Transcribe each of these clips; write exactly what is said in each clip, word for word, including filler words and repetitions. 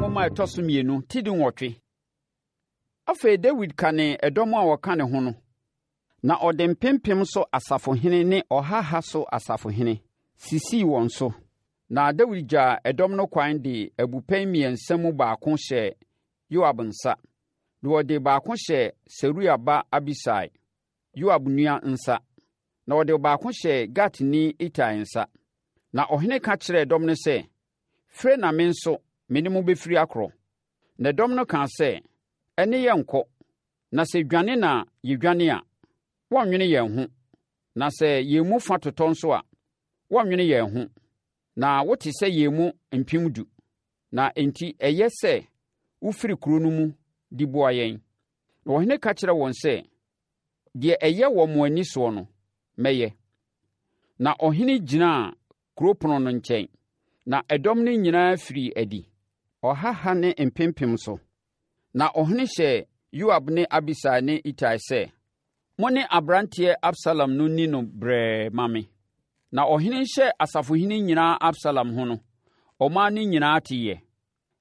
nwoma a ɛtɔ so mmienu ti dunwɔtwe. Afei Dawid kanee ɛdɔm a wɔka ne ho no, na ɔde mpempem so asafohene ne ɔha ha so asafohene sisii wɔn so. Na Dawid gyaa ɛdɔm no kwan de abupɛn mmiɛnsa mu baako hyɛɛ Yoab nsa, na ɔde baako hyɛɛ Seruia ba Abisai, Yoab nua nsa, na ɔde baako hyɛɛ Gatni Itai nsa. Na ɔhene ka kyerɛɛ dɔm no sɛ, Fire na me nso me ne mo bɛfiri akorɔ. Na dɔm no kaa sɛ, Ɛnne yɛrenkɔ, na sɛ dwane na yɛdwane a, wɔrennwene yɛn ho, na sɛ yɛn mu fa totɔ nso a, wɔrennwene yɛn ho. Na wote sɛ yɛn mu mpem du, na enti ɛyɛ sɛ wofiri kuro no mu di boa yɛn. Na ɔhene ka kyerɛɛ wɔn sɛ, Deɛ ɛyɛ wɔ mo ani soɔ no, mɛyɛ. Na ɔhene gyinaa kuro pono no nkyɛn, na ɛdɔm no nyinaa firii adi, ɔha ha ne mpempem so. Na ɔhene hyɛɛ Yoab ne Abisai ne Itai sɛ, Mo ne aberanteɛ Absalom no nni no brɛɛ mma me. Na ɔhene rehyɛ asafohene nyinaa Absalom ho no, ɔman no nyinaa teeɛ.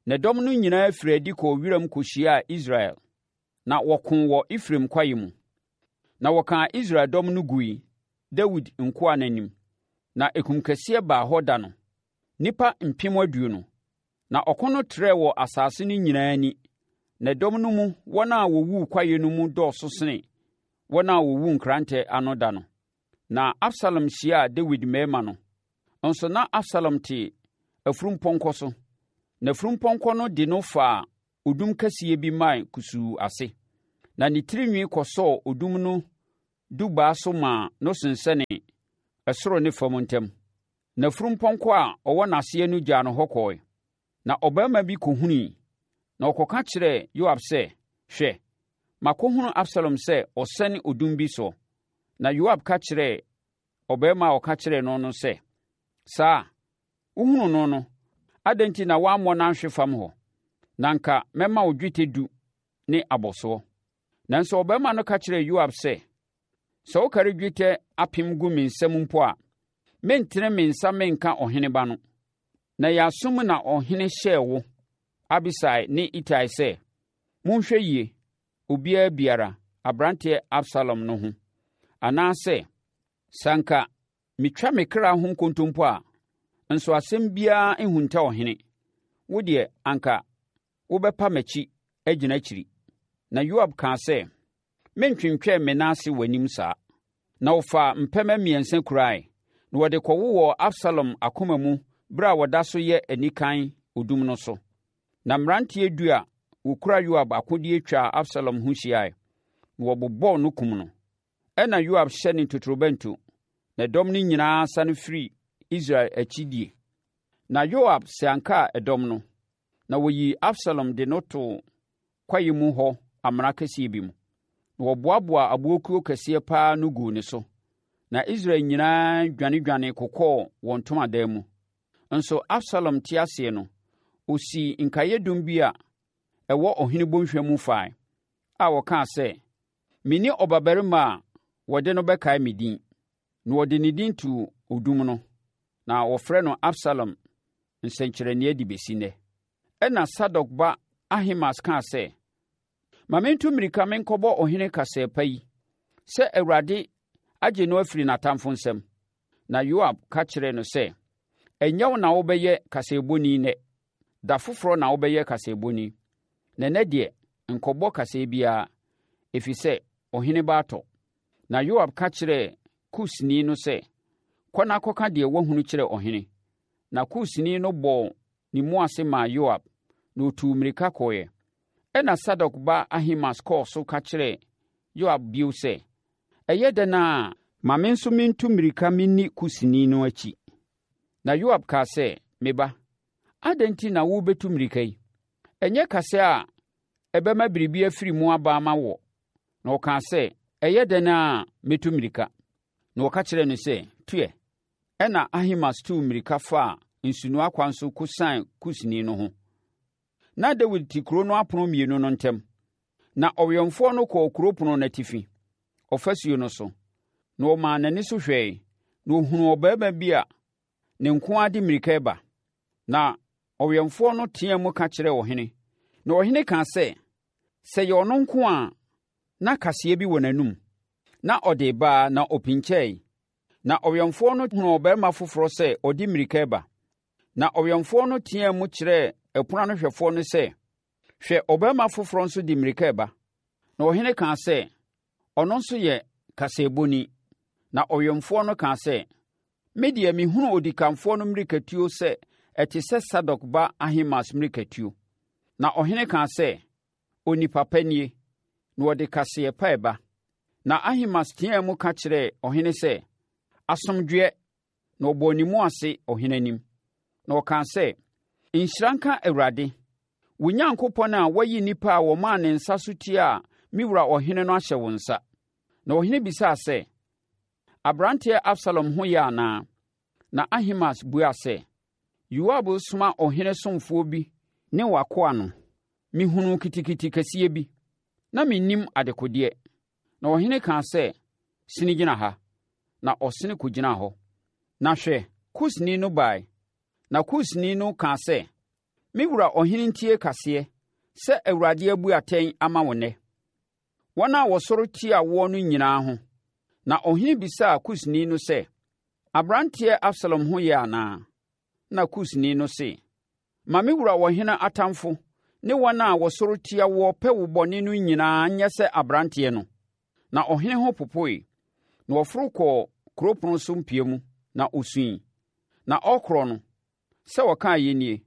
Na dɔm no nyinaa firii adi kɔɔ wiram kɔhyiaa Israel, na wɔkoo wɔ Efraim kwaeɛ mu. Na wɔkaa Israel dɔm no gui Dawid nkoa no anim, na ekumkɛseɛ baa hɔ da no, nnipa mpem aduonu. Na ɔko no trɛɛ wɔ asase no nyinaa ani, na dɔm no mu wɔn a wɔwuu kwaeɛ no mu dɔɔso sene wɔn a wɔwuu nkrantɛ ano da no. Na Absalom hyiaa Dawid mmarima no. Nso na Absalom te afurumpɔnkɔ so, na afurumpɔnkɔ no de no faa odum kɛseɛ bi mman kusuu ase, na ne tirinwi kɔsɔɔ odum no dubaa so maa no sensɛnee ɛsoro ne fam ntam. N'afunumpɔnkɔ a ɔwɔ n'aseɛ no gyaa no hɔ kɔe. Na ɔbarima bi kɔhunui, na ɔkɔka kyerɛɛ Yoab sɛ, Hwɛ, makɔhunu Absalom sɛ ɔsɛne odum bi soɔ. Na Yoab ka kyerɛɛ ɔbarima a ɔka kyerɛɛ no no sɛ, Saa? Wohunuu no no, adɛn nti na woammɔ no anhwe fam hɔ? Na anka mɛma wo dwetɛ du ne abɔsoɔ. Nanso ɔbarima no ka kyerɛɛ Yoab sɛ, Sɛ wokari dwetɛ apem gu me nsam mpo a, merentene me nsa menka ɔhene ba no. Na yɛn aso mu na ɔhene hyɛɛ wo, Abisai ne Itai sɛ, 'Monhwɛ yie, obiara biara, aberanteɛ Absalom no ho.' Anaasɛ, sɛ anka metwa me kra ho nkontompo a, nso asɛm biara nhunta ɔhene. Wo deɛ, anka wobɛpa m'akyi agyina akyiri. Na Yoab kaa sɛ, Merentwentwɛn me nan ase w'anim saa. Na wɔfaa mpɛmɛ mmiɛnsa kurae, na wɔde kɔwowɔɔ Absalom akoma mu berɛ a ɔda so yɛ anikan odum no so. Na mmeranteɛ du a wɔkura Yoab akodeɛ twaa Absalom ho hyiae, na wɔbobɔɔ no kum no. Ɛnna Yoab hyɛnee totorobɛnto, na dɔm no nyinaa sane firii Israel akyi die. Na Yoab siankaa ɛdɔm no, na wɔyii Absalom de no too kwaeɛ mu hɔ amena kɛseɛ bi mu. Na wɔboaboaa aboɔkuo kɛseɛ pa ara ano guu ne so. Na Israel nyinaa dwanedwane kokɔɔ wɔn ntomadan mu. Nso Absalom te aseɛ no, ɔsii nkaeɛdum bi a ɛwɔ ɔhene bɔnhwa mu fae, a ɔkaa sɛ, Menni ɔbabarima a wɔde no bɛkae me din. Na wɔde ne din too odum no, na wɔfrɛ no Absalom nsɛnkyerɛnneɛ de bɛsi nnɛ. Ɛnna Sadok ba Ahimaas kaa sɛ, Ma mentu mmirika menkɔbɔ ɔhene kasɛɛ pa yi, sɛ Awurade agye no afiri n'atamfo nsam. Na Yoab ka kyerɛɛ no sɛ, Ɛnyɛ wo na wobɛyɛ kaseɛbɔni nnɛ. Da foforɔ na wobɛyɛ kaseɛbɔni. Na ɛnnɛ deɛ, nkɔbɔ kaseɛ biara, ɛfiri sɛ ɔhene ba atɔ. Na Yoab ka kyerɛɛ Kusni no sɛ, Kɔ na kɔka deɛ woahunu kyerɛ ɔhene. Na Kusni no bɔɔ ne mu ase maa Yoab, na ɔtuu mmirika kɔeɛ. Ɛnna Sadok ba Ahimaas kɔɔ so ka kyerɛɛ Yoab bio sɛ, Ɛyɛ dɛn ara a, ma me nso mentu mmirika menni Kusni no akyi. Na Yoab kaa sɛ, Me ba, adɛn nti na worebɛtu mmirika yi? Ɛnyɛ kasa a ɛbɛma biribi afiri mu aba ama woɔ. Na ɔkaa sɛ, Ɛyɛ dɛn ara a, mɛtu mmirika. Na wɔka kyerɛɛ no sɛ, Tu ɛ! Ɛnna Ahimaas tuu mmirika faa nsunoa kwan so kɔsian Kusni no ho. Na Dawid te kuro no apono mmienu no ntam. Na ɔwɛmfoɔ no kɔɔ kuro pono no atifi, ɔfasuo no so, na ɔmaa n'ani so hwɛe, na ɔhunuu ɔbarima bi a ne nko ara de mmirika reba. Na Ɔwɛmfoɔ no teaam ka kyerɛɛ ɔhene, na ɔhene kaa sɛ, “Sɛ ɛyɛ ɔno nko a, na kaseɛ bi wɔ n'anom.” Na ɔde reba ara na ɔpinkyɛe. Na ɔwɛmfoɔ no hunuu ɔbarima foforɔ sɛ ɔde mmirika reba. Na ɔwɛmfoɔ no teaam kyerɛɛ ɛpono ano hwɛfoɔ no sɛ, “Hwɛ! Ɔbarima foforɔ nso de mmirika reba!” Na ɔhene kaa sɛ, “Ɔno nso yɛ kaseɛbɔni.” Na ɔwɛmfoɔ no kaa sɛ, “Me deɛ, mehunu odikanfoɔ no mmirikatuo sɛ ɛte sɛ Sadok ba Ahimaas mmirikatuo.” Na ɔhene kaa sɛ, “Onipa pa nie, na ɔde kaseɛ pa reba.” Na Ahimaas teaam ka kyerɛɛ ɔhene sɛ, “Asomdwoeɛ!” Na ɔbɔɔ ne mu ase ɔhene anim. Na ɔkaa sɛ, “Nhyira nka Awurade, wo Onyankopɔn a wayi nnipa a wɔmaa ne nsa so tiaa me wura ɔhene no ahyɛ wo nsa.” Na ɔhene bisaa sɛ, “Aberanteɛ Absalom ho yɛ anaa?” Na Ahimaas buaa sɛ, “Yoab resoma ɔhene ɔsomfoɔ bi ne w'akoa no, mehunuu kitikiti kɛseɛ bi. Na mennim adekodeɛ.” Na ɔhene kaa sɛ, “Sene gyina ha.” Na ɔsene kɔgyinaa hɔ. Na hwɛ, Kusni no baeɛ. Na Kusni no kaa sɛ, “Me wura ɔhene ntie kaseɛ sɛ Awurade abu atɛn ama wo ɛnnɛ, wɔn a wɔsɔre tiaa woɔ no nyinaa ho.” Na ɔhene bisaa Kusni no sɛ, “Aberanteɛ Absalom ho yɛ anaa?” Na Kusni no se, “Ma me wura ɔhene atamfoɔ ne wɔn a wɔsɔre tia woɔ pɛ wo bɔne no nyinaa nyɛ sɛ aberanteɛ no.” Na ɔhene ho popoe, na ɔforo kɔɔ kuro pono so mpia mu, na ɔsuiɛ. Na ɔrekorɔ no, sɛ ɔkaeɛ nie,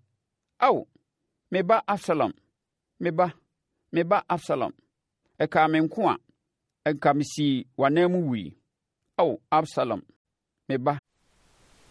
“Ao, me ba Absalom! Me ba, me ba Absalom! Ɛkaa me nko a, anka mesii w'ananmu wuiɛ. Ao, Absalom, me ba,